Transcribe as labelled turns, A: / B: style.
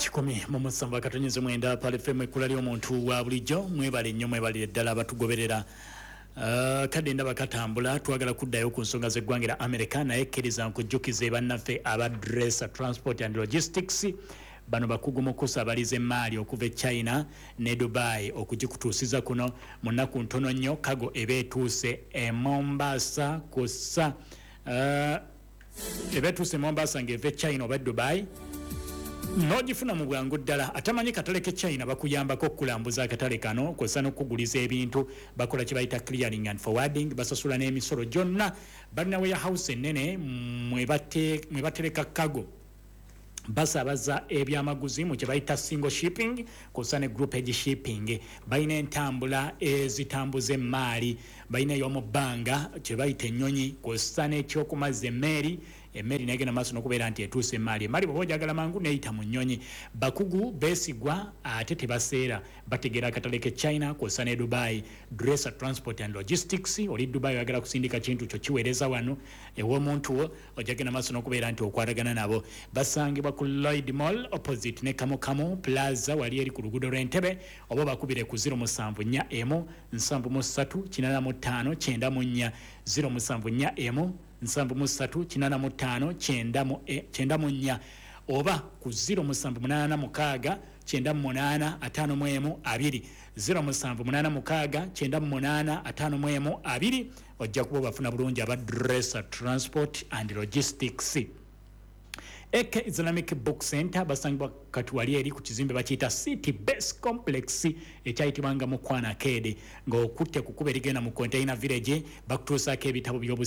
A: 107.9 Pearl FM, ekkula ly'omuntu wa bulijjo. Mwebale nnyo, mwebalire ddala abatugoberera. Kadde ndaba katambula, twagala kuddayo ku nsonga z'eggwanga lya America, naye kkiriza nkujjukize bannaffe aba Dresser Transport and Logistics. Bano bakugu mu kusabaliza emaali okuva e China ne Dubai okugikutuusiza kuno mu nnaku ntono nnyo. Cargo eba etuuse e Mombasa kussa eba etuuse e Mombasa ng'eva e China oba e Dubai, n'ogifuna mu bwangu ddala. Atamanyi katale ke China, bakuyambako okukulambuza akatale kano kw'ossa n'okukuguliza ebintu. Bakola kye bayita clearing and forwarding, basasula n'emisolo gyonna. Balina warehouse ennene mwe batereka cargo. Basaabaza ebyamaguzi mu kye bayita single shipping kw'ossa ne groupage shipping. Balina entambula ezitambuza emaali, balina ey'omu bbanga kye bayita ennyonyi, kw'ossa n'ekyokumazza emmeeri. Emmeri negenda maaso n'okubeera nti etuusa emaali. Emaali bw'oba ojagala mangu, neeyita mu nnyonyi. Bakugu beesigwa ate tebaseera, bategeera akatale ke China kw'ossa ne Dubai. Dresser Transport and Logistics. Oli Dubai, oyagala kusindika kintu kyo kiweereza wano ew'omuntu wo, ojagenda maaso n'okubeera nti okwatagana nabo. Basangibwa ku Lloyd Mall opposite ne Kamukamu Plaza, wali eri ku luguudo lw'Entebe, oba bakubire ku 0741 73 85 94, 0741 73 85 94, oba ku 0786 98 51 2, 0786 98 51 2. Ojja kuba obafuna bulungi aba Dresser Transport and Logistics. AK Islamic Book Center basangibwa kati wali eri ku kizimbe bakiyita City Base Complex, ekyayitibwanga Mukwana Kede, ng'okutte ku kkubo erigenda mu Container Village. Bakutuusaako ebitabo by'obusi.